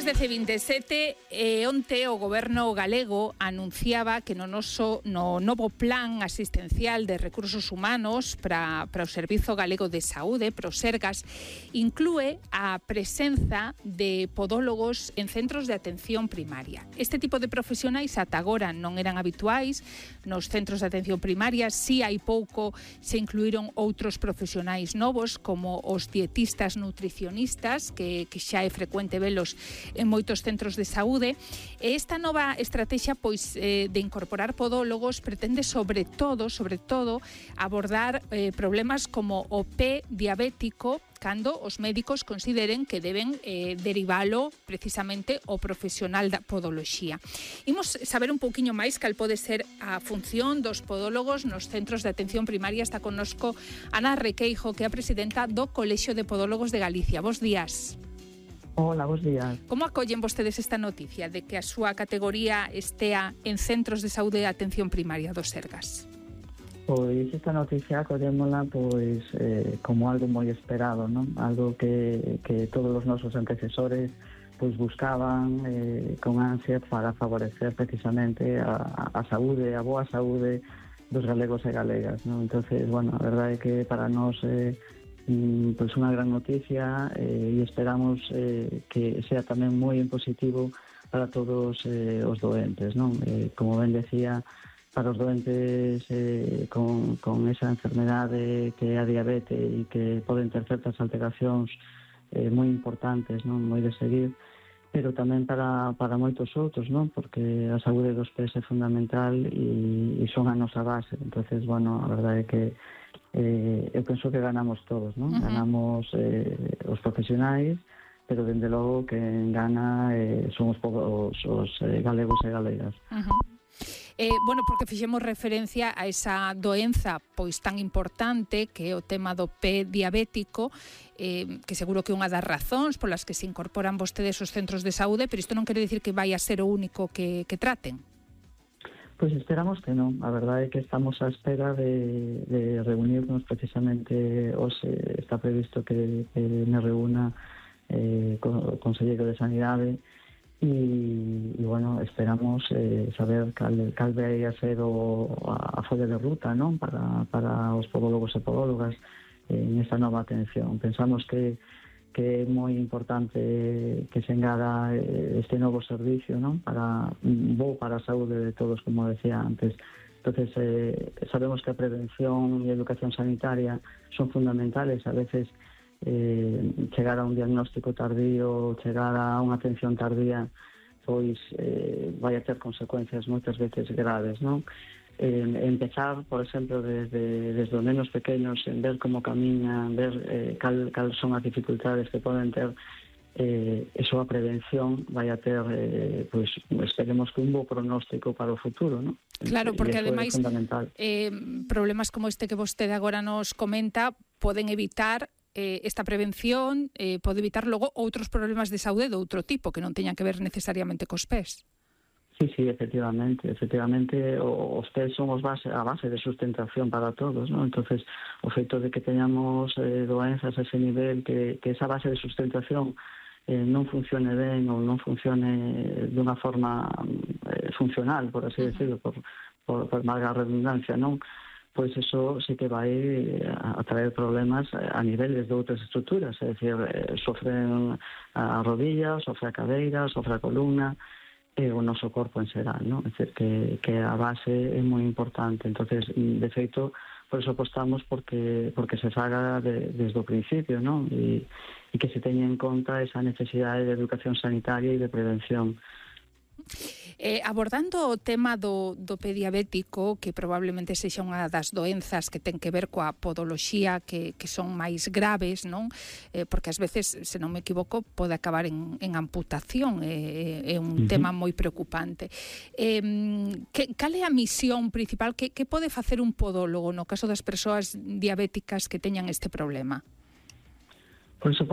Son as 10:27 e onte o Goberno galego anunciaba que no novo plan asistencial de recursos humanos para o Servizo Galego de Saúde, para o Sergas, inclúe a presenza de podólogos en centros de atención primaria. Este tipo de profesionais ata agora non eran habituais nos centros de atención primaria. Si hai pouco se incluíron outros profesionais novos como os dietistas nutricionistas que xa é frecuente velos en moitos centros de saúde. E esta nova estrategia de incorporar podólogos pretende sobre todo abordar problemas como o pé diabético cando os médicos consideren que deben derivalo precisamente ao profesional da podoloxía. Imos saber un pouquiño máis cal pode ser a función dos podólogos nos centros de atención primaria. Está connosco Ana Requeijo, que é a presidenta do Colexio de Podólogos de Galicia. Bos días. Hola, bos días. Como acollen vostedes esta noticia de que a súa categoría estea en centros de saúde e atención primaria do Sergas? Pois esta noticia acollémola como algo moi esperado, non? Algo que todos os nosos antecesores buscaban con ansia para favorecer precisamente a saúde, a boa saúde dos galegos e galegas, non? Entonces, a verdade é que para nós unha gran noticia e esperamos que sea tamén moi positivo para todos os doentes, non? Como ben decía, para os doentes con esa enfermedade que é a diabetes e que poden ter certas alteracións moi importantes, non? Moi de seguir, pero tamén para moitos outros, non? Porque a saúde dos pés é fundamental e son a nosa base. Entonces, a verdade é que eu penso que ganamos todos, non? Ganamos os profesionais, pero dende logo que gana son os galegos e galegas. Porque fixemos referencia a esa doenza tan importante que é o tema do pé diabético, que seguro que é unha das razóns polas que se incorporan vostedes aos centros de saúde, pero isto non quere dicir que vai a ser o único que traten. Pois esperamos que non. A verdade é que estamos á espera de reunirnos precisamente hoxe. Está previsto que me reúna co Conselleiro de Sanidade e esperamos saber cal vai a ser a folla de ruta, non? Para os podólogos e podólogas en esta nova atención. Pensamos que é moi importante que se engada este novo servicio, non? Para a saúde de todos, como decía antes. Entonces, sabemos que a prevención e a educación sanitaria son fundamentales. A veces chegar a un diagnóstico tardío, chegar a unha atención tardía, vai a ter consecuencias moitas veces graves, non? Empezar, por exemplo, desde os menos pequenos, en ver como camiñan, ver cal son as dificultades que poden ter, eso a prevención vai a ter, esperemos que un bo pronóstico para o futuro, non? Claro, porque ademais problemas como este que vostede agora nos comenta poden evitar esta prevención, pode evitar logo outros problemas de saúde de outro tipo que non teñan que ver necesariamente cos pés. Sí, efectivamente, os pés son a base de sustentación para todos, ¿no? Entonces, o feito de que teñamos doenzas a ese nivel, que esa base de sustentación non funcione ben ou non funcione dunha forma funcional, por así decirlo, por valga a redundancia, non? Pois eso sí que vai a traer problemas a niveles de outras estruturas, é dicir, sofren a rodilla, sofre a cadeira, sofre a columna, e o noso corpo en xeral, non? É dicir, que a base é moi importante. Entonces, de feito, por eso apostamos porque se faga desde o principio, non? E que se teña en conta esa necesidade de educación sanitaria e de prevención. Abordando o tema do pé diabético, que probablemente sexa unha das doenzas que ten que ver coa podoloxía que son máis graves, non? Porque ás veces, se non me equivoco, pode acabar en amputación, é un tema moi preocupante. Cal é a misión principal? Que pode facer un podólogo no caso das persoas diabéticas que teñan este problema? Por iso